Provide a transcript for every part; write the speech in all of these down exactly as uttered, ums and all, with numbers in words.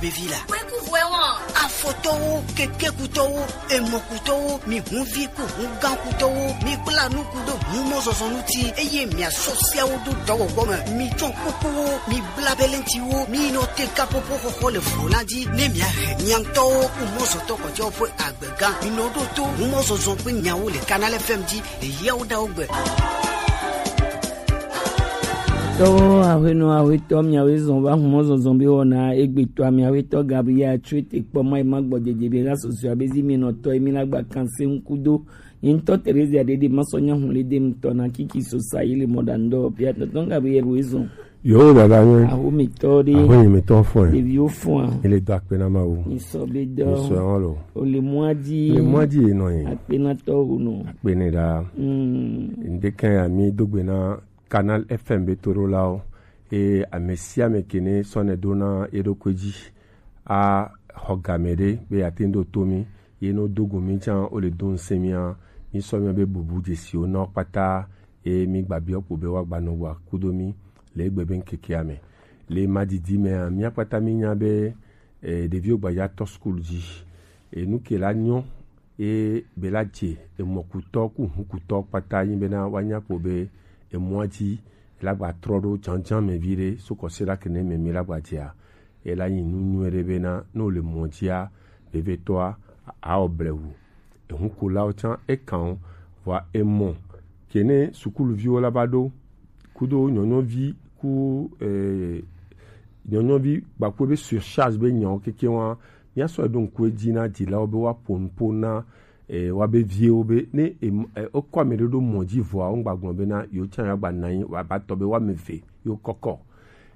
Vevi la. Kpekuvuɛ wɔn. Afɔtɔwo, kekekutɔwo, emɔkutɔwo, mi hunvi ku hungankutɔwo, mi kpla nuku ɖo humɔzɔzɔ ŋuti, eye miasɔ siawo do dɔwɔwɔ me. Mi tsɔ kukuwo, mi bla belentiwo, mi nɔ te kapopo xɔxɔ le vlo la dzi, ne miahe miaŋtɔwo humɔzɔtɔ kɔjɔ ƒe agbega. Mi nɔ ɖo to humɔzɔzɔ ƒe nyawo le Canal F M dzi le yawo ɖawo gbe. Tɔwo, aƒenɔ, aƒetɔ, miawoe zɔn va humɔzɔzɔ be wɔna egbetɔa, miaƒetɔ Gabriel Atsue te kpɔ ma ema gbɔ dzedze be la sɔsɔa be zi mi nɔ tɔ emi la gba kan se ŋku do. Nye ŋutɔ Terezia ɖeɖe masɔ nya hu le dem tɔ na kiki sosa yi le mɔ ɖa ŋdɔ pia tɔtɔ Gabriel wo ezɔn. Yo dada nye. Aho mi tɔ ɖe. Aho mi tɔ fɔ. Ɖeviwo fɔ. Ele do akpe na Mawu. Mi sɔ be dɔ. Mi sɔ wɔn lo. O le mɔa dzi. Le mɔa dzi nɔ ye. Akpe na tɔ wo nɔ. Akpe ne ɖa. Mm. Ŋdeke ya mi dogbe na Canal F M be toɖolawo, eye ame sia ame ke ne sɔ ne ɖo na eɖokui dzi axɔ game ɖe be yeate ŋu ɖo to mí, ye ne wodo go mí tsã, wole do ŋusẽ mía, mísɔ míabe bubu dzesiwo na wo kpata, eye mígbabiɔ kpo be woagbanɔ gbɔa kudo mí le egbe be ŋkekea me. Le madidi mea, mía kpata mínya be, eh, ɖeviwo gbaja tɔ skul dzi. Enu ke la nyɔ, ye be la dze emɔkutɔ ku hukutɔ kpata nyi bena woanya kpo be emɔa dzi la gba trɔ ɖo dzadzã me viɖe so kɔsiɖa kene me mi la gba dzea, ye la nyi nu nyui ɖe bena ne wole mɔ dzia, vevietɔa, awɔ blewu. Ehukulawo tsã ekan wo, vɔa emɔ kene sukuluviwo la va ɖo kudo nyɔnyɔvi ku, eh, nyɔnyɔvi gbaku be surcharge be nyawo keke wa, míasɔ ɖo ŋku edzi na dzilawo be woaƒo nuƒo na, eh, woabe viwo be ne em-, eh, wokɔ ame ɖe ɖo mɔ dzi vɔa, wogba gblɔ bena yewo tsã yewoagba nɔ anyi woabatɔ be woame eve yewo kɔkɔ.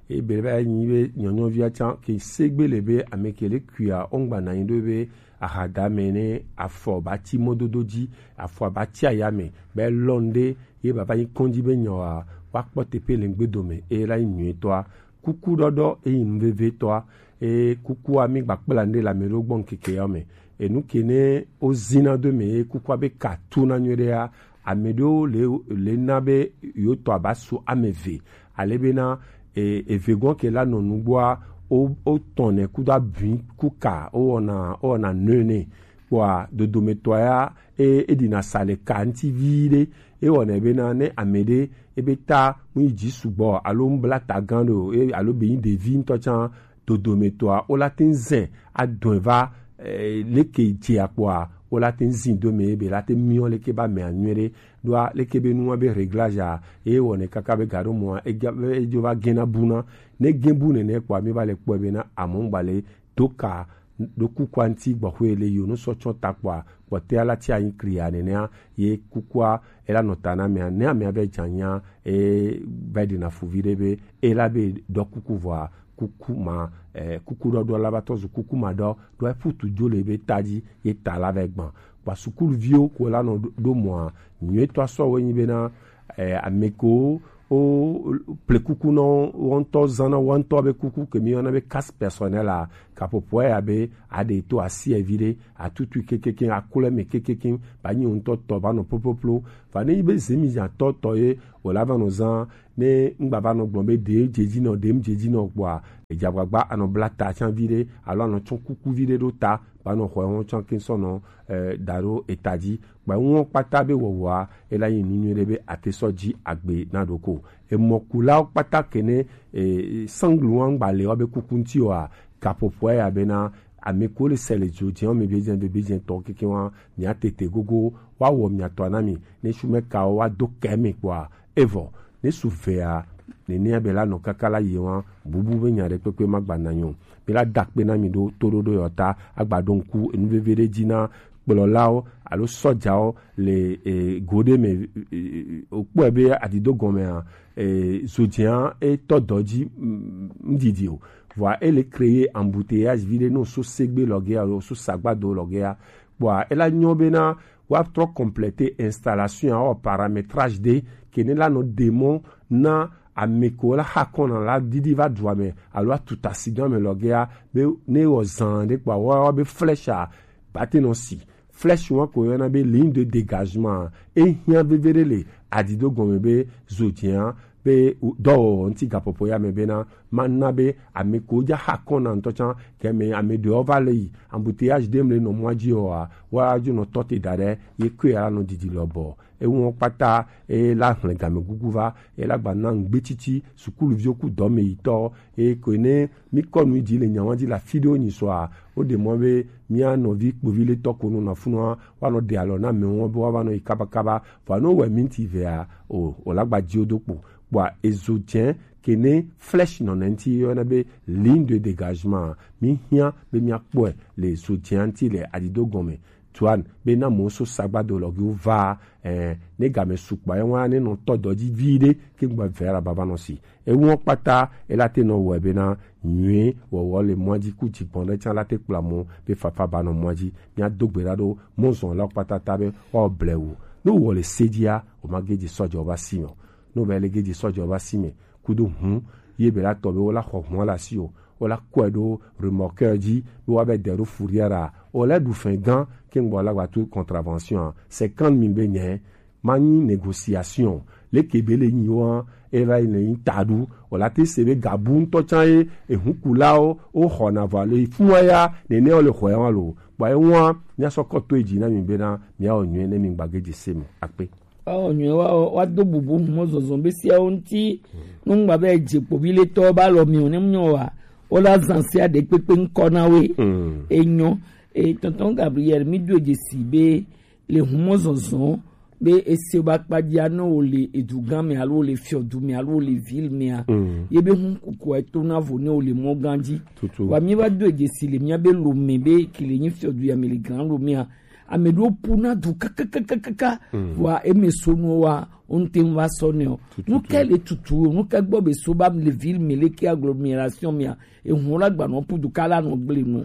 Eye be va nyi be nyɔnyɔvia tsã ke segbe le be ame ke le kuia wogba nɔ anyi ɖo be ahadame ne afɔ ba tsi mɔdodo dzi, afɔ ba tsi ayame, be lɔn ɖe ye baba nyi kɔndzi be nyawoa, woakpɔ teƒe le ŋgbe dome, eye la nyi nyuitɔa. Kuku ɖɔɖɔ eyi nu veve tɔa, eye kukua mi gba kpla ŋɖe le ame ɖewo gbɔ ŋkeke yawo me. Enu ke ne wozina do me, ye kukua be ka tu na nyuie ɖea, ame ɖewo le, le na be yewo tɔ aba su ame eve, ale bena, e, eve gɔ̃ ke la nɔ nugbɔa, wo, wo tɔn ne kudo abui ku ka, wo wɔna, wo wɔna nɔe ne. Kpɔa, dodometɔa ya, e, eɖina sa le ka ŋuti viɖe. Ewɔnɛ bena ne ame ɖe ebe ta mu yi dzi sugbɔ alo mu bla ta gã ɖe o, e, alo be nyi ɖevi ŋutɔ tsã, dodometɔa, wo la te ŋu zɛ adɔe va, e, leke dze akpɔa, wo la te ŋu zi do me be la te miɔ leke ba mea nyuie ɖe. Ɖoa leke be nua be réglage a, eye wɔnɛ kaka be ga ɖo mɔa, ega-, edzo va gena buna. Ne ge bu nene kpɔa, mi va le kpɔe bena amɔ ŋgba le do ka ɖo kukua ŋuti gbɔxwe le yo nu sɔ tsɔ ta kpɔa, kpɔtɛa la tia nyi klia nenea, ye kukua ela nɔ ta na amea, ne amea vɛ dza nya, e, vɛ ɖina fu viɖe be ela be ɖɔ kuku vɔa, kuku ma, e, kuku ɖɔɖɔ la va tɔ zu kuku ma ɖɔ, ɖo eƒu tu dzo le be ta dzi, ye ta la vɛ gbã. Kpɔa sukuluviwo ko la nɔ ɖo, ɖo mɔa, nyuietɔ sɔ wo nyi bena, eh, ame ko wo ple kuku nɔ wo ŋutɔ zã na wo ŋutɔ be kuku ke mi yɔna be carte personnelle a, kaƒoƒoa ya be aɖe to asi evi ɖe, atutui kekeke, aklɔ eme kekeke, ba nyi wo ŋutɔ tɔ ba nɔ ploploplɔ. Va ne nyi be zemi zã tɔ tɔ ye wo la va nɔ zã, ne ŋgba va nɔ gblɔ be ɖe dze dzi nɔ, ɖe mu dze dzi nɔ kpɔa, edze agbagba anɔ bla ta tsã vi ɖe alo anɔ tsɔ kuku vi ɖe ɖo ta, ba nɔ xɔ ewo tsã ke sɔ nɔ, eh, da ɖo eta dzi. Kpa ŋuɔ kpata be wɔwɔa, ela nyi nu nyui ɖe be ate sɔ dzi agbe na ɖoko. Emɔkulawo kpata kene, e, sanglu wa ŋgba le wa be kuku ŋuti wa, kaƒoƒoa ya bena, ame ko le se le dzo dze wa me be dze be dze tɔ keke wa, mia tete gogo, wa wɔ mia tɔ na mi, ne shume kawo wa do ke me kpɔa, evɔ, ne su vea, nenea be la nɔ kaka la yi wa, bubu be nya ɖe kpekpe ma gba na nyo. Mi la da kpe na mi ɖo toɖoɖo yɔ ta, agba ɖo ŋku enu veve ɖe dzi na kplɔlawo alo sɔjawo le, e, go ɖe me, e, e, e, wokpɔe be adido gɔmea, e, zodzia etɔ dɔ dzi, mm, ŋdidi o. Vɔa ele créer embouteillage vi ɖe no so segbe lɔgea, so sagbado lɔgea. Kpɔa ela nyɔ bena woatrɔ compléter installation ya, wɔ paramétrage ɖe ke ne la nɔ ɖe mɔ na ame ko la xa kɔna la didi va dua me alo atuta si do ame lɔgea be ne wɔ zan ɖe kpɔa wa be flèche a ba te nɔ si. Flèche wa ko yɔna be ligne de dégagement, e hiã veve ɖe le adido gɔme be zodzia be dɔwɔwɔ ŋuti gaƒoƒo ya me bena mana be ame ko dza xa kɔn na ŋutɔ tsã ke me ame ɖewo va le yi embouteillage ɖem le nɔ mɔa dzi oa, woadzo nɔ tɔ te da ɖe ye koe la nɔ didi lɔbɔ. Eŋuwo kpata eye la hlẽ gamegugu va eye la gba na ŋugbetsitsi sukuluviwo ku dɔmeyitɔ eye koe ne mi kɔ nu yi dzi le nyawa dzi le afi ɖewo nyi sɔa, woɖe mɔ be mía nɔvi kpovi le tɔ ko nɔ na funua woanɔ ɖe alɔ na amewo be woava nɔ yi kabakaba vɔa ne wowɔe minti evea o o la gba dzi wo do kpo kpɔa ezo dze ke ne flèche nɔ ne ŋuti yɔna be ligne de dégagement mi hiã be mia kpɔe le zo dze ŋuti le adido gɔme tuan be na mo so sagbado lɔgiwo va eh, ne game sukpɔ ye wa ne nɔ tɔ dɔ dzi vi ɖe ke gba vɛ la baba nɔ si ewo kpata ela te nɔ wɔ be na nyuie wɔwɔ le mɔa dzi ku dzigbɔn ɖe tsã la te kpla mo be fafa ba nɔ mɔa dzi mia do gbe ɖa ɖo mɔzɔn la kpata ta be wa blewu ne wɔ le se dzia o ma ge dzi sɔdzɔ va si me o ne wɔ be le ge dzi sɔdzɔ va si me kudo hu ye be la tɔ be wo la xɔ hu la si o wo la kɔe ɖo remorqueur dzi be wa be de ɖo fourrière a o la ɖu fɛn gã ke ŋgbɔ la gba to contravention a cinquante mille be nyɛ ma nyi négociation leke be le nyi wa e va yi le nyi ta ɖu o la te se be gabu ŋutɔ tsã ye ehu kulawo wo xɔ na vɔ le fun wa ya nene wo le xɔ ya wa lo kpɔ ye wa mia sɔ kɔ to edzi na mi be na mia wɔ nyuie ne mi gba ge dzi se me akpe. Woawɔ nyuie, woawɔ, woado bubu mɔzɔzɔ be siawo ŋuti. Nungba be dze kpoviletɔwo be alɔ mi o ne mnyɔ wa, wola zã sia ɖe kpekpe ŋkɔ na woe. Enyɔ, e tɔntɔn Gabriel, mi do dzesi be le hu mɔzɔzɔ be ese ba kpadzia ne wo le edugã me alo wo le fiɔdu me alo wo le ville mea, ye be hu kukua eto na vo ne wo le mɔ gã dzi. Wa mi va do dzesi le mia be lo me be ki le nyi fiɔdu ya me le grand lo mea, ame ɖewo ƒuna du kakakakaka vɔa eme so nuwo wa wonte ŋu va sɔ nɛ o. Nu kae le tutu o, nu kae gbɔ be so ba le ville me leke agglomération mea, ehu la gbanɔ ƒu du ka la nɔ gble nu.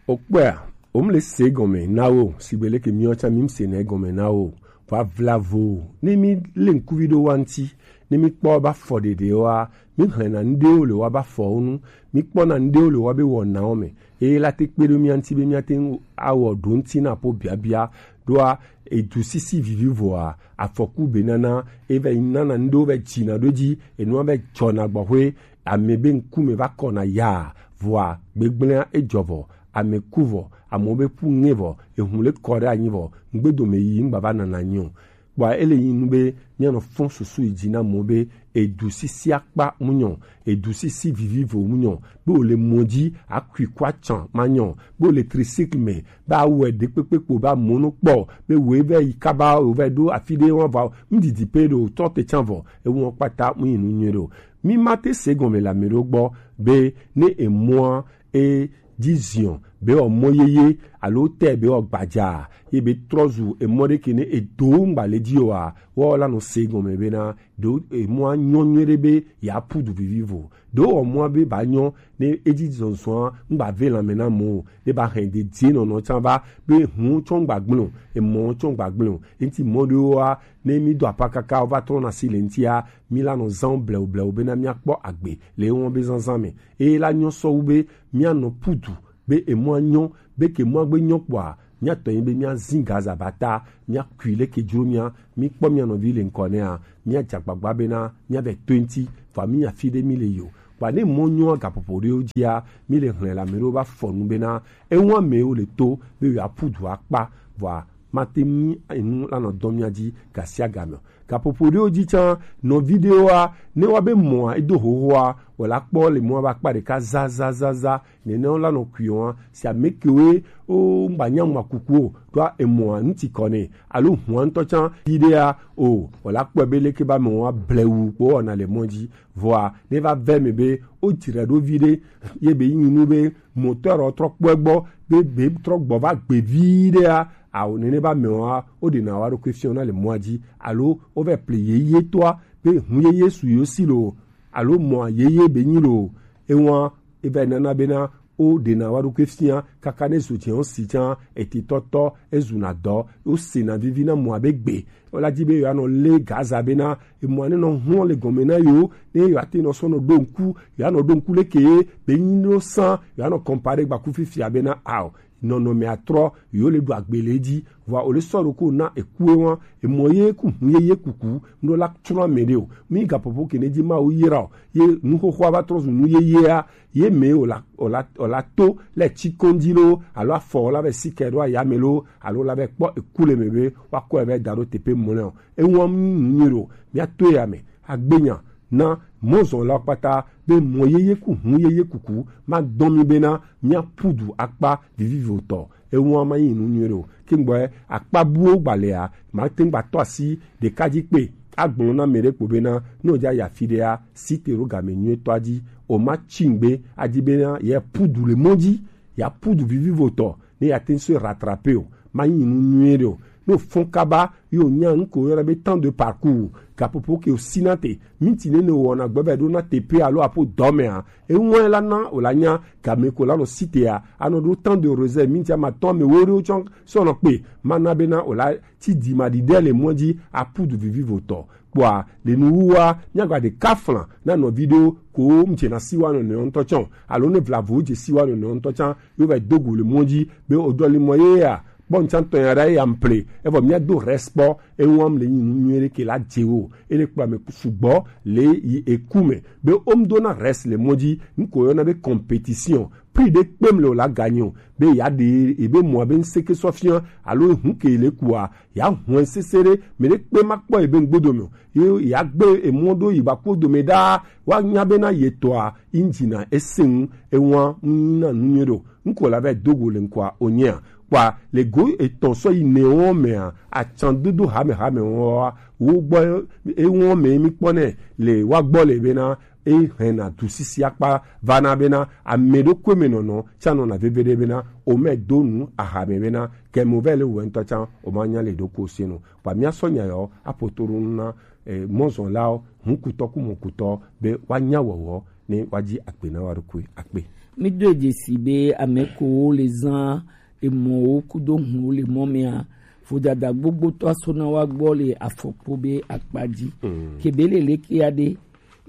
Okpɔa wom le se gɔme na wo sigbe leke miɔ tsa mi se na gɔme na wo va vla vo ne mi le ŋkuvi ɖo wa ŋti ne mi kpɔ ba fɔ ɖeɖe wa mi hlɛna ŋɖewo le wa ba fɔwo nu mi kpɔna ŋɖewo le wa be wɔnawo me eye la te kpe ɖo mia ŋti be mia te ŋu awɔ ɖo ŋti na ƒo biabia ɖoa edu sisi vivivoa afɔku be nana eva yi nana ŋɖewo va dzina ɖo dzi enua va dzɔna gbɔxwe ame be ŋkume va kɔna yaa vɔa gbegblẽa edzɔ vɔ ame ku vɔ amewo be ƒu ŋe vɔ ehu le kɔ ɖe anyi vɔ ŋgbedome yi ŋgba va nana nyi o kpɔa ele yi nu be míanɔ fɔn susu yi dzi na mɔ be edu sisi akpa munyɔ edu sisi vivivo munyɔ be wòle mɔ dzi akui kɔ atsã manyɔ be wòle tricycle me be awɔe ɖekpekpe kpo be amewo no kpɔ be wòe vɛ yi kaba wòvɛ ɖo afi ɖe wɔn va ŋdidi pe ɖo tɔ te tsã vɔ ewu wɔn kpata mu yi nu nyuie ɖo mi ma te se gɔme le ame ɖo gbɔ be ne emɔa e dzi ziɔ be wɔ mɔ yeye alo tɛ be wɔ gbadza ye be trɔ zu emɔ ɖe ke ne edo ŋgba le dzi oa wɔ la nɔ se gɔme be na ɖo emɔa nyɔ nyuie ɖe be ya pu du vivivo ɖo wɔ mɔa be ba nyɔ ne edzi zɔzɔa ŋgba ve lãme na mɔ o ne ba hɛn de die nɔnɔ tsã va be hu tsɔ ŋgba gblẽ o emɔ tsɔ ŋgba gblẽ o enti mɔ ɖewoa ne mi do apa kaka va trɔ na si le ŋtia mi la nɔ zã blewu blewu be na mia kpɔ agbe le ewɔn be zazã me eye la nyɔ sɔ wu be míanɔ pu du be emɔa nyɔ be ke mɔa gbe nyɔ kpɔa míatɔ nyi be míazi gaza ba ta míakui le ke dzro mía míkpɔ mía nɔvi le ŋkɔ nɛa míadze agbagba bena míavɛ to eŋti vɔa mínya fi ɖe míle yi o kpa ne mɔ nyɔa gaƒoƒo ɖewo dzia míle hlẽ le ame ɖewo va fɔ nu bena eŋu amewo le to be yewoaƒu du akpa vɔa mate ŋu enu lanɔ dɔ mía dzi gasiagame o. Gaƒoƒo ɖewo dzi tsã, nɔvi ɖewoa, ne woa be mɔa edo xoxoa, wòla kpɔ le mɔa be akpa ɖeka zazazaza, nene wola nɔ kuiɔ hã. Si ame kewoe wo ŋgba nya mɔ kuku o, ɖoa emɔa ŋuti kɔ nɛ, alo hua ŋutɔ tsã vi ɖea o, wòla kpɔe be leke be amewoa blewu kpo wɔna le mɔ dzi. Vɔa, ne va ve me be wo dzra ɖo vi ɖe, ye be yi nu be moteur trɔ kpɔe gbɔ, be be trɔ gbɔ va gbe vi ɖea, ao nene be amewoa, wo ɖena wa ɖokui fiɔ na le mɔa dzi, alo wo vɛ ple yeye toa, be hu yeye su yo si lo, alo mɔ yeye be nyi lo, ewa, e vɛ nana bena, wo ɖena wa ɖokui fia, kaka ne zo dze wo si tsã, eti tɔtɔ, e zuna dɔ, wo sena vivi na mɔ be gbe, wo la dzi be yo anɔ le Gaza bena, emɔ ne nɔ hlɔ le gɔme na yo, ne yo ate nɔ sɔ nɔ ɖo ŋku, yo anɔ ɖo ŋku leke ye, be nyi no san, yo anɔ kɔmpa ɖe gbaku fifia bena, ao, nɔnɔme atrɔ, yo le ɖu agbele dzi, vɔa o le sɔ ɖo ko na eku e wan, emɔ ye ku hu ye ye kuku, ŋɖo la tsrɔ̃ ame ɖe o. Mi gaƒoƒo ke ne dzi Mawu yra o, ye nuxoxoa va trɔ zu nu yeyea, ye me o la, o la, o la to le tsi kɔndzi lo, alo afɔ o la be sika ɖo aya me lo, alo la be kpɔ eku le me be, wa kɔ ebe da ɖo teƒe mlɔ o. Ewan nu nyui ɖo, mia to ya me, agbenya, na mɔzɔnlawo kpata be mɔ yeye ku hu yeye kuku ma dɔn mi bena mia pudu akpa vivivotɔ. Ewan ma yi nu nyuie ɖo. Ke ŋgbɔ akpa buwo gbalea, ma te ŋgba tɔ asi ɖeka dzi kpe. Agblɔ na me ɖe kpo bena, ne o dza ya fi ɖea, si te ɖo game nyuie tɔ dzi. O ma tsi ŋgbe adi bena ye pudu le mɔ dzi, ya pudu vivivotɔ, ne ya te ŋ so rattraper o. Ma yi nu nyuie ɖe o. Ne o fɔn kaba, yo nya nu ko yɔna be temps de parcours, gaƒoƒo ke o si na te, minti ne ne o wɔna gbɔ be ɖo na teƒe alo aƒo dɔ mea, eŋɔe la na o la nya game ko la nɔ si tea, anɔ ɖo temps de réserve, minti ama tɔn me wo ɖo tsɔ sɔnɔ kpe, ma na be na o la ti di ma di ɖe le mɔ dzi apudu vivivotɔ. Kpɔa, le nuwuwua, míagba ɖeka fla na nɔvi ɖewo ko ŋdze na siwa nɔnɔewo ŋutɔ tsã o, alo ne vlavo dze siwa nɔnɔewo ŋutɔ tsã, yo va do go le mɔ dzi be o dɔ li mɔ ye ya, kpɔ ŋtsã tɔ ya ɖa ye ya mple, evɔ mía do respect, ewan le nyi nu nyuie ɖe ke la dze wo, ele kpla me sugbɔ le yi eku me, be o ŋdo na rest le mɔ dzi, ŋko yɔna be compétition, prix ɖe kpem le o la gagné o, be ya ɖe ebe mɔ be ŋseke sɔ fia, alo hu ke le kua, ya hɔn sese ɖe, me ɖe kpe ma kpɔ ebe ŋgbodo me o. Ye ya gbe emɔ ɖo yi ba kpo dome ɖaa, wa nya be na ye tɔa, injina ese ŋu, ewan ŋu na nu nyuie ɖo. Ŋko la va do go le ŋkɔa o nyea. Kpɔa, le go etɔn sɔ yi ne wɔn mea, atsan dodo hame hame wɔn wa, wo gbɔ ewɔn me mi kpɔ nɛ, le wa gbɔ le be na, e hɛn na du sisi akpa va na be na, ame ɖokui me nɔnɔ, tsa nɔ na veve ɖe be na, o mɛ do nu ahame be na, kɛ mo vɛ le wɛ ŋutɔ tsa, o ma nya le ɖo ko se no. Kpɔa, mia sɔ nya yɔ, apoto ɖo nu na, eh, mɔzɔnlawo, hukutɔ ku mɔkutɔ, be wa nya wɔwɔ, ne wa dzi akpe na wa ɖokui, akpe. Mi do dzesi be ame ko wo le zan emɔwo kudo hun wo le mɔ mea, vodada gbogbotɔ aso na wa gbɔ le afɔkpo be akpa dzi. Mm. Kebe le leke ya ɖe,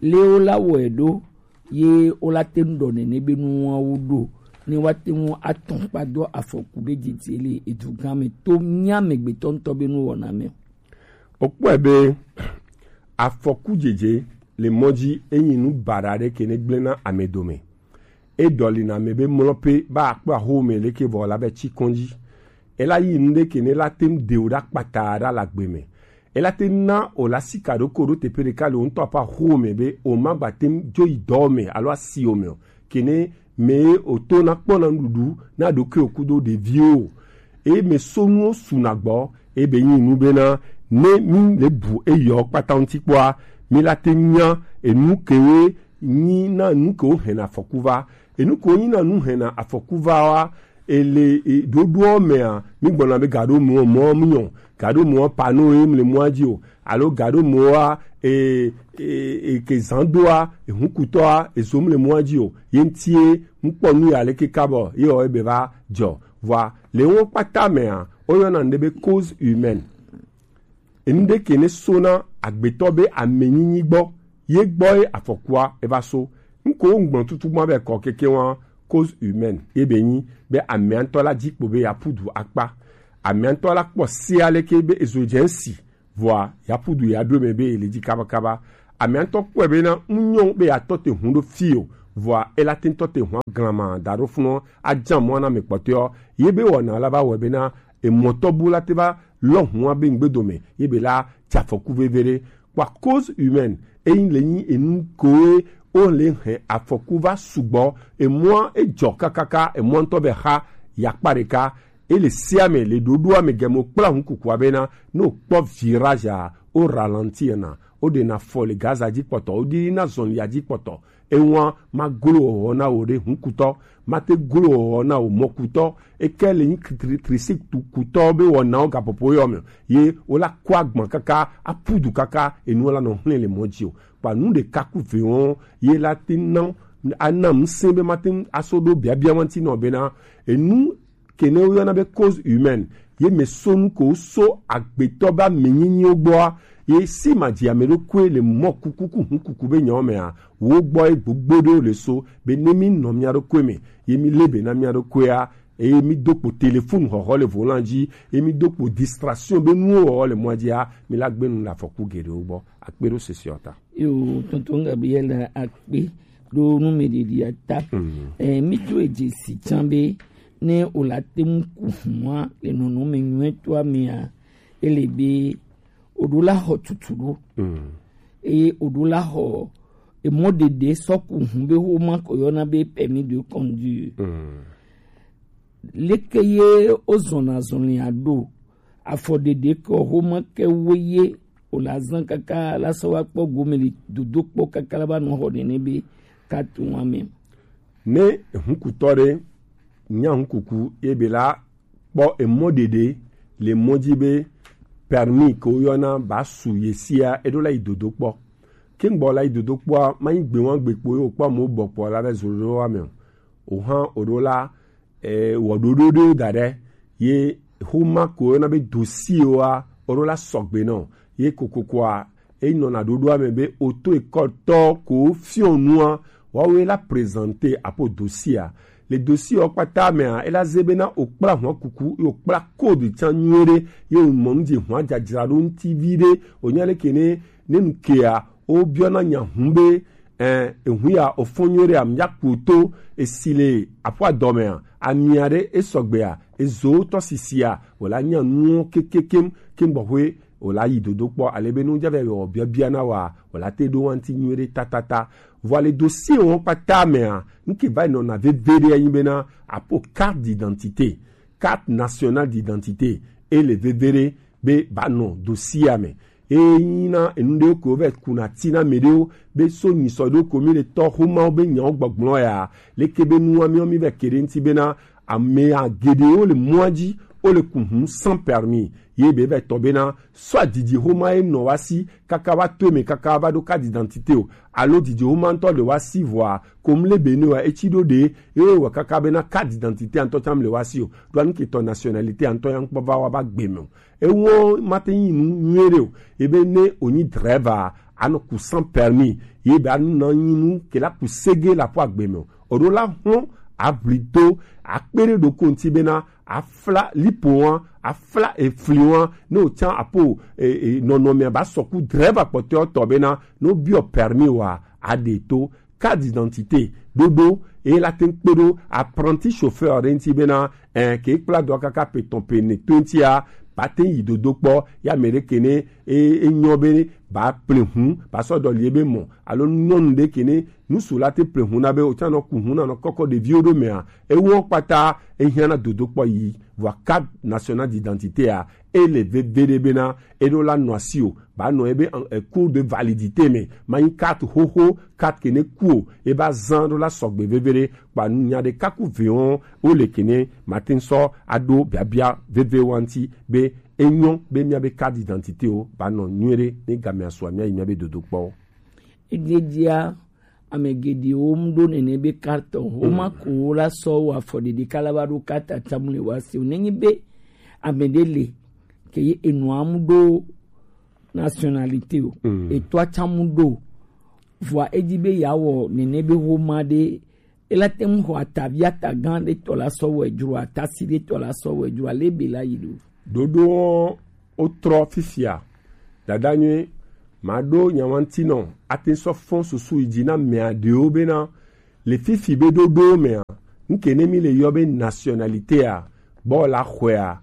le wo la wɔe ɖo, ye wo la te ŋu ɖɔ nene be nuwawo ɖo, ne wa te ŋu atɔn kpa do afɔku be dzedze le edugã me to mía amegbetɔ ŋutɔ be nuwɔna me o. Okpɔe be afɔku dzedze le mɔ dzi enyi nu baɖa ɖe ke ne gblẽ na ame dome. E dɔli na ame be mlɔ pe ba akpɔ aho me leke vɔ la be tsi kɔn dzi. Ela yi nu ɖe ke ne la te ŋu de o ɖa kpata ɖa la gbe me. Ela te na o la sika ɖo ko ɖo teƒe ɖeka le o ŋutɔ ƒe aho me be o ma gba te ŋu dzo yi dɔ me alo asi o me o. Ke ne me o to na kpɔ na nuɖuɖu na ɖokui o kudo ɖeviwo o. Eye me so nuwo su na gbɔ, eye be nyi nu bena ne mi le bu eyɔ kpata ŋuti kpɔa, mi la te nya enu kewe nyi na nu kewo hɛna afɔku va. Enu kewo nyi na nu hɛna afɔku va wa, ele, e, ɖoɖoɔ mea, mi gbɔna be gaɖo mɔ, mɔ mi nyɔ, gaɖo mɔ pano ye mi le mɔa dzi o, alo gaɖo mɔa, e, e, e, ke zan doa, e, hukutɔa, e, zo mi le mɔa dzi o, ye ŋutie, ŋkpɔ nu ya leke kabɔ, ye wɔ ebe va dzɔ. Vɔa, le wo kpata mea, woyɔna ŋɖe be cause humaine. Enu ɖe ke ne so na agbetɔ be amenyinyi gbɔ, ye gbɔ ye afɔkua eva so. Ŋko ŋgblɔ tutu gbɔ be kɔ keke wa cause humaine ye be nyi be amea ŋutɔ la dzi kpo be ya pudu akpa. Amea ŋutɔ la kpɔ se aleke be ezo dze ŋsi, vɔa ya pudu ya ɖo me be ele dzi kabakaba. Amea ŋutɔ kpɔe be na ŋnyɔ be ya tɔ te hun ɖo fi o, vɔa ela te ŋutɔ te hun aglama da ɖo funɔ adza mɔ na me kpɔtɔeɔ. Ye be wɔna la va wɔe be na emɔtɔ bu la te va lɔ hua be ŋgbedo me, ye be la dze afɔku veve ɖe. Kpɔa cause humaine, eyin le nyi enu koe o le hɛn afɔku va sugbɔ, emɔa edzɔ kakaka, emɔa ŋutɔ be xa yakpa ɖeka, e le sia me le ɖoɖoa me gɛmo kpla ŋu kukua be na, ne o kpɔ virage a, o ralentir na, o ɖe na fɔ le gaza dzi kpɔtɔ, o ɖi na zɔn ya dzi kpɔtɔ, Ewan ma glo wɔwɔ na wò ɖe hunkutɔ, ma te glo wɔwɔ na wò mɔkutɔ. Eke le nyi tri-, tri-, trisikutɔ be wɔnawo gaƒoƒo yɔ me. Ye wo la kɔ agban kaka, apudu kaka, enu la nɔ hlẽ le mɔ dzi o. Kpa nu ɖeka ku ve wɔn, ye la te na, ana ŋusẽ be ma te ŋu aso ɖo biabia ŋuti nɔ bena, enu ke ne woyɔna be cause humaine, ye me so nu ko so agbetɔ be amenyinyiwo gbɔa, ye si ma dzi ame ɖokui le mɔ kuku ku hu kuku be nyawo mea, wo gbɔ ye gbogbo ɖewo le so, be ne mi nɔ mia ɖokui me, ye mi le be na mia ɖokuia, Eye mi do kpo téléphone xɔxɔ le volant dzi, eye mi do kpo distraction be nuwo wɔwɔ le mɔa dzia, mi la gbe nu le afɔku geɖewo gbɔ. Akpe ɖo sese ɔ ta. Yo, tonton Gabriel, akpe ɖo nu me ɖeɖi ata. Mm. Eh, mi to edze si can be ne o la te ŋu ku hua le nɔnɔme nyuitɔa mea, ele be o ɖo la xɔ tutu ɖo. Mm. Eye o ɖo la xɔ emɔ ɖeɖe sɔ ku hu be wo ma ko yɔna be permis de conduire. Mm. Leke ye o zɔna zɔlia ɖo? Afɔ ɖeɖe kɔ xoma ke wo ye o la zan kaka la sɔ wa kpɔ gome li dodo kpɔ kaka la ba nɔ xɔ nene be katu wa me. Ne hunkutɔ ɖe nya hunkuku ye be la kpɔ emɔ ɖeɖe le mɔ dzi be permis ke wo yɔna ba su ye sia, e ɖo la yi dodo kpɔ. Ke ŋgbɔ la yi dodo kpɔa, ma yi gbe wa gbe kpo ye o kpɔ mo bɔ kpɔ la be zo ɖo wa me o. O hã o ɖo la eh, wɔɖoɖo ɖewo da ɖe ye xoma ko yɔna be dossier wa, o ɖo la sɔgbe nɔ ye kokokoa, e nɔna ɖoɖoa me be auto-école tɔ ko fiɔ nua, wawe la présenter apo dossier a. Le dossier wa kpata mea, e la ze bena o kpla hua kuku, ye o kpla code can nyuie ɖe, ye o mɔ nu dzi hua dzadzra ɖo ŋuti vi ɖe, o nya le ke ne, ne nu kea, o biɔna nya hu be, eh, ehu ya o fɔ nyuie ɖe a, mi ya ku to, e si le aƒua dɔme a, amia ɖe e sɔgbe a, e zo tɔ sisi a, o la nya nuwo kekekem, ke gbɔxwe o la yi dodo kpɔ, ale be nu ja vɛ wɔ biabia na wa, o la te ɖo wa ŋuti nyuie ɖe tatata. Vɔ le dossier wo kpata mea, nu ke va yi nɔna veve ɖe anyi bena, apo carte d'identité, carte nationale d'identité, e le veve ɖe be ba nɔ dossier a me. Eyi na enu ɖewo ko vɛ kuna ti na me ɖewo be so nyi sɔ ɖo ko mi le tɔ xomawo be nyawo gbɔgblɔ ya. Leke be nua mi mi vɛ ke ɖe ŋuti bena ame a geɖewo le mɔa dzi, wo le ku hu sans permis. Ye be vɛ tɔ bena soit didi xoma ye nɔ wa si kaka wa to eme kaka va ɖo carte d'identité o, alo didi xoma ŋutɔ le wa si vɔa, comme le Bénin wa etsi ɖo ɖe, ye wɔ kaka bena carte d'identité ŋutɔ tsam le wa si o, ɖo anu ke tɔ nationalité ŋutɔ ya ŋkpɔ va wa ba gbe me o. Ewo ma te nyi nu nyuie ɖe o. Ebe ne o nyi driver, a nɔ ku sans permis. Ye be a nɔ nyi nu ke la ku sege la ƒo agbe me o. O ɖo la hɔn, a vli do, a kpe ɖe ɖo ko ŋuti bena, a fla lipo wa, a fla efli wa, ne o tsa apo, e, e, nɔnɔme ba sɔ ku driver kpɔtɔe tɔ bena, no biɔ permis wa, a ɖe to. Carte d'identité ɖoɖo, eye la te ŋu kpe ɖo apprenti chauffeur ɖe ŋuti bena, eh, ke kpla dɔ kaka pe tɔn pe ne to ŋutia, ba te yi dodo kpɔ ya me ɖe ke ne e, e nyɔ be ba ple hu, ba sɔ dɔ li ebe mɔ, alo nyɔnu ɖe ke ne nusu la te ple hu na be o tsa nɔ ku hu na nɔ kɔkɔ ɖeviwo ɖo mea, ewɔ kpata e hiã na dodo kpɔ yi. Vɔ carte nationale d'identité a, e le veve ɖe bena e ɖo la nɔ asi o, ba nɔ ebe, eh, cours de validité me, ma nyi carte xoxo, carte ke ne ku o, e ba zan ɖo la sɔgbe veve ɖe, kpa nu nya ɖe kaku ve wɔn, o le ke ne ma te ŋu sɔ a ɖo biabia veve wa ŋuti be e nyɔ be mia be carte d'identité o, ba nɔ nyuie ɖe, ne gamea sua mia yi mia be dodo kpɔ. Ededia ame geɖewo mu ɖo nene be carte o. Woma ko wo la sɔ wo afɔ ɖeɖe kala va ɖo carte atsamu le wa si o. Nenye be ame ɖe le ke ye enɔa mu ɖo nationalité o. Mm. Etɔa tsamu ɖo. Vɔa edi be ya wɔ nene be woma ɖe, ela te ŋu xɔ atavi atagã ɖe tɔ la sɔ wɔ edzro, atasi ɖe tɔ la sɔ wɔ edzro, ale be la yi ɖo. Ɖoɖo wo trɔ fifia. Dada nyuie, ma ɖo nyawantinɔ, ate sɔ fɔn susu yi dzi na mea ɖewo bena, le fifi be ɖoɖo mea, nuke ne mi le yɔ be nationalité a, bɔ la xɔea,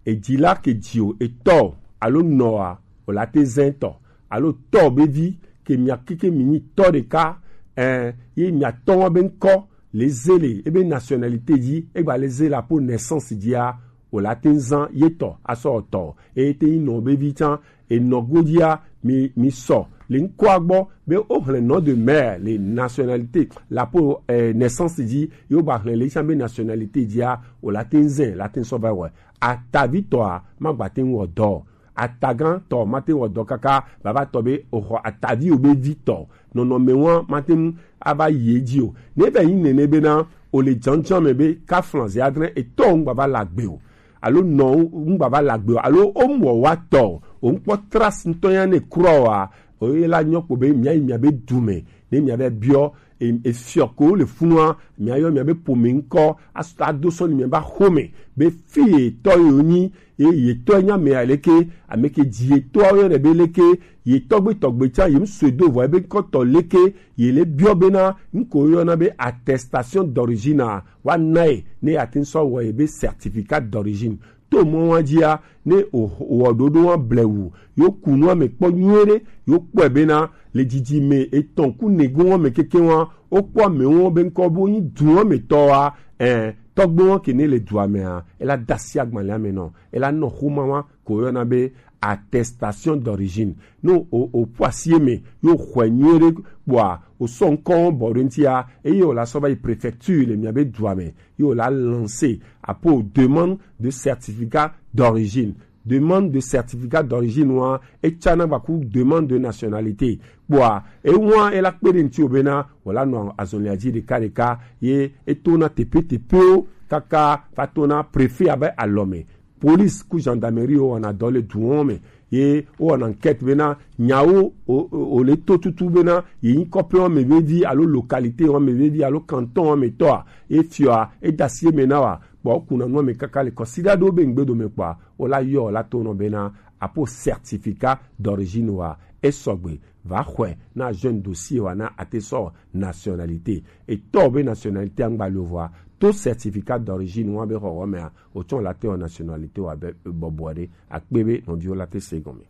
edzi la ke dzi o, etɔ o, alo nɔ a, o la te zɛn tɔ, alo tɔ be vi, ke mia keke mi nyi tɔ ɖeka, eh, ye mia tɔ wa be ŋkɔ, le ze le ebe nationalité dzi, egba le ze le apo naissance dzia, o la te zan ye tɔ asɔ tɔ, eye te nyi nɔ be vi tsan, enɔ godzia, mi, mi sɔ le ŋkɔa gbɔ be o hlɛ nom de mère le nationalité, le apo, eh, naissance dzi, yo ba hlɛ le tsan be nationalité dzia, o la te zɛn, la te sɔ va wɔ. Atavitɔa ma gba te wɔ dɔ. Atagãtɔ mate wɔ dɔ kaka baba tɔ be oxɔ ataviwo be vi tɔ. Nɔnɔme wa mate ŋu ava yi edzi o. Ne va yi nene bena o le dzɔndzɔn me be kaflan ze adre etɔ ŋgba va la gbe o. Alo nɔ ŋgba va la gbe o. Alo o mu wɔ wa tɔ o. O ŋkpɔ trace ŋutɔ ya ne krɔ wa. O ye la nyɔ kpo be mia yi mia be du me. Ne mia be biɔ e- efiɔ ko le funua, miayɔ miabe pome ŋkɔ, as- ado sɔ ni miaba xome be fi yetɔ yewo nyi, ye yetɔ nya me aleke, ame ke dzi yetɔ yɔ ne be leke, yetɔgbe tɔgbe tsa yem sue do vɔ ebe ŋkɔ tɔ leke, ye le biɔ bena ŋko yɔna be attestation d'origine a, wa na ye ne ate ŋ sɔ wɔ ye be certificat d'origine. To mɔ wa dzia, ne o wɔ ɖoɖo wa blewu, yo ku nua me kpɔ nyuie ɖe, yo kpɔe bena le dzidzi me etɔn ku negun wa me keke wa, o kpɔ amewo be ŋkɔ bo nyi du wa me tɔ wa, eh, tɔgbe wa ke ne le dua me a, ela dasi agbalẽ ame nɔ, ela nɔ xoma wa ko yɔna be attestation d'origine. No o o ƒu asi eme yo xɔe nyuie ɖe kpɔa, o sɔ ŋkɔ bɔ ɖe ŋutia, eye o la sɔ va yi préfecture le miabe dua me, ye wòla lancer apo demande de certificat d'origine. Demande de certificat d'origine wa etsana gbaku demande de nationalité. Kpɔa ewa ela kpe ɖe ŋuti o bena wòla nɔ azɔlia dzi ɖeka ɖeka ye etona teƒe teƒewo kaka va tona préfet abe alɔme. Police ku gendarmerie wo wɔna dɔ le duwo me ye wo wɔna enquête bena nyawo o, o, o le to tutu bena ye nyi kɔƒe wɔme vevi alo localité wɔme vevi alo canton wɔme tɔa, ye fiɔa eda asi eme na wa, kpɔ kuna nua me kaka le kɔsiɖa ɖo be ŋgbe dome kpɔa, wo la yɔ la to nɔ bena apo certificat d'origine wa esɔgbe va xɔe na jeune dossier wa na ate sɔ nationalité. Etɔ be nationalité angba le vɔa to certificat d'origine wa be xɔxɔ mea, o tsɔ la te wɔ nationalité wa be bɔbɔ ɖe akpe be nɔviwo la te se gɔme.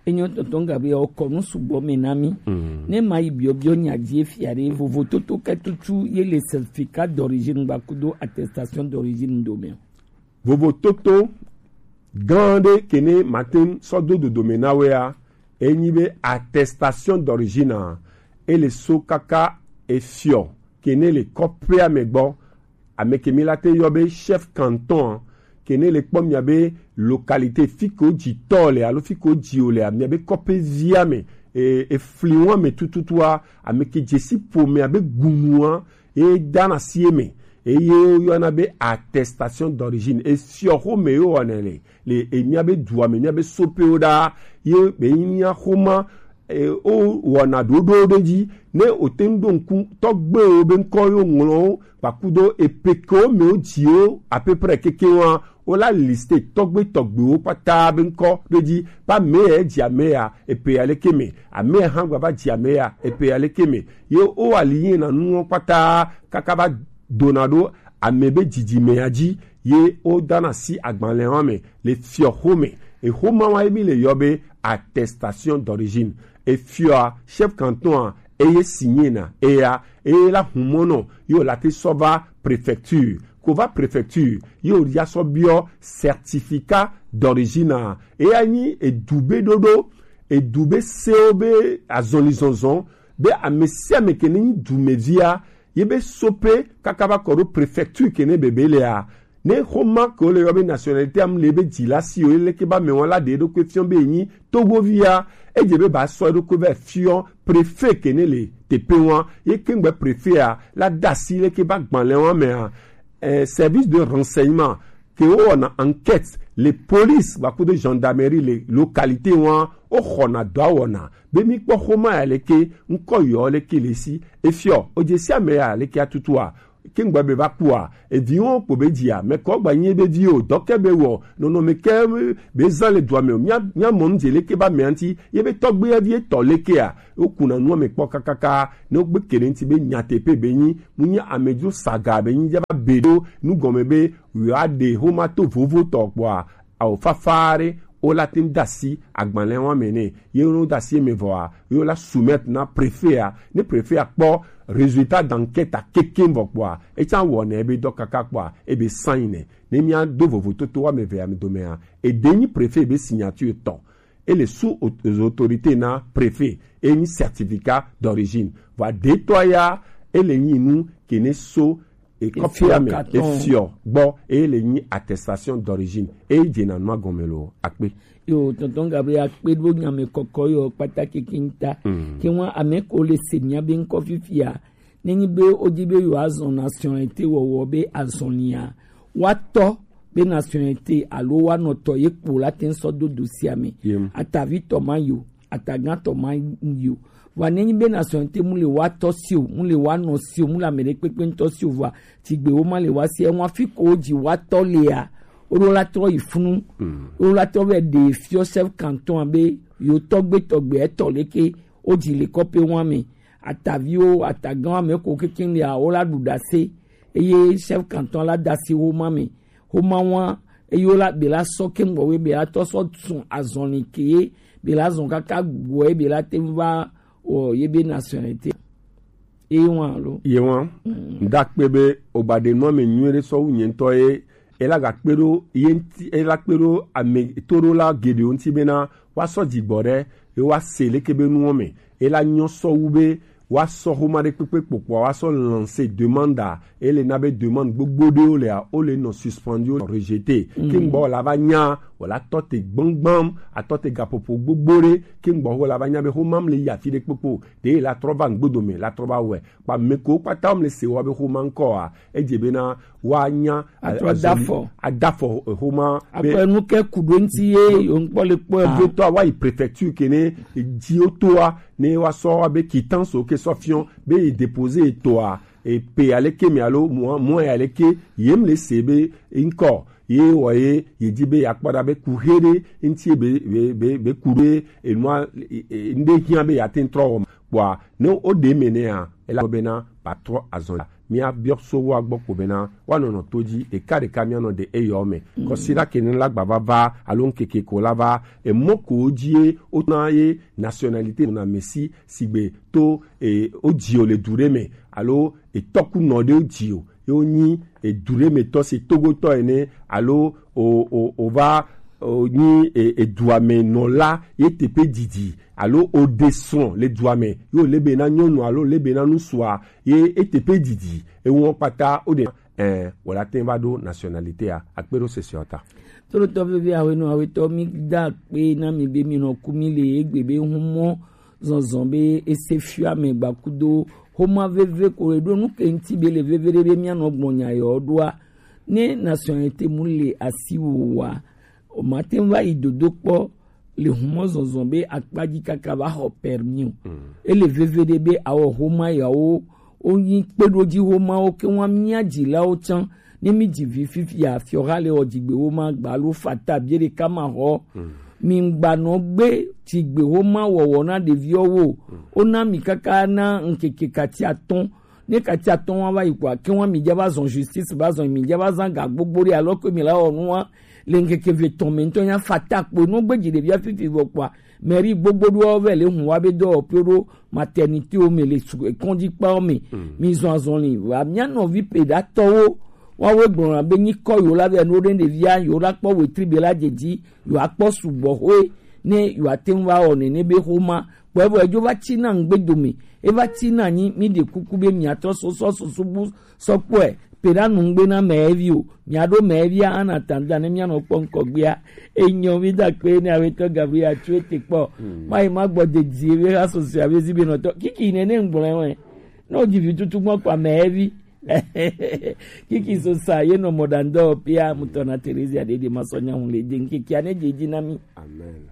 Enyo tɔntɔn Gabriel, kɔnu sugbɔ me na mi. Ne ma yi biɔbiɔ nya dzi fia ɖe vovototo kɛtutu ye le certificat d'origine gba kudo attestation d'origine do me. Vovototo gã ɖe kene matin sɔ do dodo me na wea, enyi be attestation d'origine a, ele so kaka efiɔ kene le kɔƒea me gbɔ, ame ke mi la te yɔ be chef canton a, ke ne le kpɔ mia be localité fi ke wodzi tɔ le alo fi ke wodzi o le, mia be kɔƒe via me, e, efli wa me tututua, ame ke dzesi ƒomea be gunua, e dana si eme, eye woyɔna be attestation d'origine, efiɔ xome ye wowɔnɛ le, le emia be dua me, mia be soƒewo ɖaa, ye be mia xoma e, wowɔna ɖoɖowo ɖe dzi. Ne wòte ŋu ɖo ŋku tɔgbewo be ŋkɔ ye woŋlɔ wo, kpakudo epe kewo me wodzi wo à peu près keke wa, wola liste tɔgbe tɔgbewo kpata be ŋkɔ ɖe dzi. Be ame ya dzi ame ya, epe ya leke me. Ame ya hã gba va dzi ame ya, epe ya leke me. Ye wo ali yina nuwo kpata kaka va dona ɖo ame be dzidzime ya dzi, ye wodana si agbalẽ wa me le fiɔ xome. Exoma wa ye mi le yɔ be attestation d'origine. Efiɔa, chef canton a, eye signé na eya, eye la humɔnɔ, ye wòla te sɔ va préfecture. Ko va préfecture, ye wòya sɔ biɔ certificat d'origine a. Eya nyi edu be ɖoɖo, edu be sewo be azɔlizɔzɔ, be ame sia ame ke ne nyi dumevia, ye be soƒe kaka va kɔ ɖo préfecture ke ne bebe lea, ne xoma ke wole yɔ be nationalité am le be dzila si o, ye leke ba me wa la ɖe eɖokui fiɔ be enyi Togovia, edze be ba sɔ eɖokui va fiɔ préfet ke ne le teƒe wa, ye kengbe préfet a la da asi leke ba gbalẽ wa mea, eh, service de renseignement ke wowɔna enquête le police va kudo gendarmerie le localité wa, woxɔna dɔa wɔna be mi kpɔ xoma ya leke, ŋkɔ yɔ leke le si, efiɔ, odze sia me ya leke atutua, ke ŋgba be va kua, eviwo kpo be dzia, me kɔ gba nyi be vi o, dɔ ke be wɔ, nɔnɔme ke be zã le dua me o, mia, mia mɔ nu dze leke ba mea ŋuti, ye be tɔgbe ya vi etɔ lekea, wokuna nua me kpɔ kakaka, ne wogbe ke ɖe ŋuti be nyateƒe be nyi, mu nyi amedzro saga be nyi, dza va be ɖo, nu gɔme be, yewoaɖe xoma to vovo tɔ kpɔa, ao fafa ɖe, wola te ŋu da asi agbalẽ wa me nɛ, ye wo da asi eme vɔa, ye wola soumettre na préfet a, ne préfet a kpɔ résultat d'enquête a kekeŋ vɔ kpɔa, etsa wɔnɛ ebe dɔ kaka kpɔa, ebe sign nɛ, ne mia do vovototo wa me ve ame domea, eɖe nyi préfet be signature tɔ, ele sous au-, aux autorités na préfet, e nyi certificat d'origine, vɔa ɖetɔa ya, ele nyi nu ke ne so e kɔfia me, efiɔ gbɔ, eye le nyi attestation d'origine, eye dzena nua gɔme lo akpe. Yo, tonton Gabriel, akpe ɖo nya me kɔkɔ yo kpata kekeŋ ta. Ke wa ame ko le se mia be ŋkɔ fifia, ne nyi be wodi be yo azɔn nationalité wɔwɔ be azɔnia, wa tɔ be nationalité alo wa nɔtɔ ye kpo la te ŋ sɔ do dossier me. Atavi tɔ ma yo, atagã tɔ ma yo. Vɔa ne nyi be nationalité mu le wa tɔ si o, mu le wa nɔ si o, mu le ame ɖe kpekpe ŋutɔ si o, vɔa tsi gbe wo ma le wa si, enwa fi ko wo dzi wa tɔ lea, wo ɖo la trɔ yi funu, wo ɖo la trɔ vɛ ɖe fiɔ chef canton a be yo tɔgbe tɔgbe etɔ leke wo dzi le kɔpe wa me, ataviwo, atagã wa me ko kekeŋ lea, wo la ɖu ɖase, eye chef canton la da si wo ma me, xoma wa, eye wo la be la sɔ keŋ gbɔ we be la tɔ sɔ sun azɔli ke ye be la zɔn kaka gbɔ ye be la te ŋu va wɔ ye be nationalité. Ye wa lo. Ye wa. Ŋda kpe be o ba ɖe nua me nyuie ɖe sɔ wu nye ŋutɔ ye, e la ga kpe ɖo ye ŋuti, e la kpe ɖo ame toɖola geɖewo ŋuti bena wa sɔ dzigbɔ ɖe ye wa se leke be nuwo me, e la nyɔ sɔ wu be wa sɔ xoma ɖe kpekpe kpokpoa wa sɔ lancer demande a, e le na be demande gbogbo ɖewo lea, wo le nɔ suspendu, wo nɔ rejeter. Ke ŋgbɔ la va nya, wala tɔ te gbɔngbɔn, atɔ te gaƒoƒo gbogbo ɖe, ke ŋgbɔ wo la va nya be xoma mle yi afi ɖe kpokpo, ɖe la trɔ va ŋgbodo me, la trɔ va wɛ. Kpa me ko kpata mle se wa be xoma ŋkɔ a, edze bena wa nya, a-, azɔli, adafɔ, adafɔ, eh, xoma be akpɛ nu ke ku ɖo ŋuti ye yo ŋkpɔ le kpɔ a. Gbetɔ wa yi préfecture ke ne dzi wo toa, ne wa sɔ wa be quittance wo ke sɔ fiɔ be yi déposer toa, e pe aleke me alo mua, mua ya leke, ye mle se be ŋkɔ ye wɔ ye, ye di be ya kpɔ ɖa be ku xe ɖe ŋuti be, be, be, be ku ɖe enua, e, e, ŋɖe hiã be ya te ŋtrɔ wɔ ma. Kpɔa, ne wo ɖe me nɛa, ela bena ba trɔ azɔn la. Mia biɔ so wa gbɔ ko bena wa nɔnɔ to dzi ɖeka ɖeka mia nɔ ɖe eyɔ me. Kɔsiɖa ke ne la gba va va alo ŋkeke ko la va, emɔ ko wo dzi ye wo na ye nationalité na mesi sigbe to, e, wo dzi o le du ɖe me alo etɔkunɔ ɖe wo dzi o ye wo nyi edu ɖe me tɔ se togotɔ ene alo o, o, o va o nyi e, edua me nɔla ye teƒe didi alo o ɖe srɔ̃ le dua me ye o le be na nyɔnu alo le be na ŋutsua ye eteƒe didi ewo kpata o ɖe, eh, wòle ate ŋu va ɖo nationalité a, akpe ɖo sese ɔ ta. Tolotɔ vevi awe nɔ awe tɔ mi da akpe na mi be mi nɔ ku mi le egbe be humɔ zɔnzɔn be ese fia me gbakudo xoma veve ko eɖo nu ke ŋuti be le veve ɖe be mia nɔ gbɔn nya yɔ ɖoa, ne nationalité mu le asi wo wa, o ma te ŋu va yi dodo kpɔ le humɔ zɔnzɔn be akpa dzi kaka va xɔ permis o. Ele veve ɖe be awɔ xoma yawo wo nyi kpeɖodzi xomawo ke wa mia dzilawo tsã. Ne mi dzi vi fifi ya fiɔ xa le wɔ dzigbe wo ma gba alo fata bie ɖeka ma xɔ. Mi gba nɔ gbe dzigbe xoma wɔwɔ na ɖeviwo wo. Wo na mi kaka na ŋkeke kati atɔ̃. Ne kati atɔ̃ wa va yi kɔa, ke wa mi dza va zɔn justice va zɔn mi dza va zan ga gbogbo ɖe alɔ ke mi la wɔ nu wa le ŋkeke ve tɔ̃ me ŋutɔ nya fata kpo no gbe dzi ɖevia fifi vɔ kpɔa, mairie gbogbo ɖoa vɛ le hun wa be dɔwɔƒe ɖo maternité wo me le su-, kɔdzi kpawo me. Mi zɔn azɔli wa mia nɔvi pe ɖa tɔwo wa wo gblɔ na be nyi kɔ yo la vɛ no ɖe ɖevia yo la kpɔ wetri be la dzedzi yo akpɔ sugbɔ hoe ne yo ate ŋu va wɔ nene be xoma kpɔe vɔ edzo va tsi na ŋgbe dome. Eva tsi na nyi mi ɖe kuku be miatrɔ sɔsɔ susu bu sɔ kpɔe pe ɖa nu ŋgbe na mɛvi o. Miaɖo mɛvia ana tanda ne mianɔ kpɔ ŋkɔgbea. Enyɔ mi da kpe ne awetɔ Gabriel atsu ete kpɔ. Mayi ma gbɔ dedie be ha sɔsɔ abe zibe nɔtɔ kiki nene ŋgblɔe wɛ. Ne wodzi vi tutu gbɔ kpa mɛvi. Kiki sosa ye nɔ mɔɖaŋdɔ pia mutɔ na Teresia ɖeɖe ma sɔ nya ŋu le de ŋkekea ne dze dzi na mi. Amen.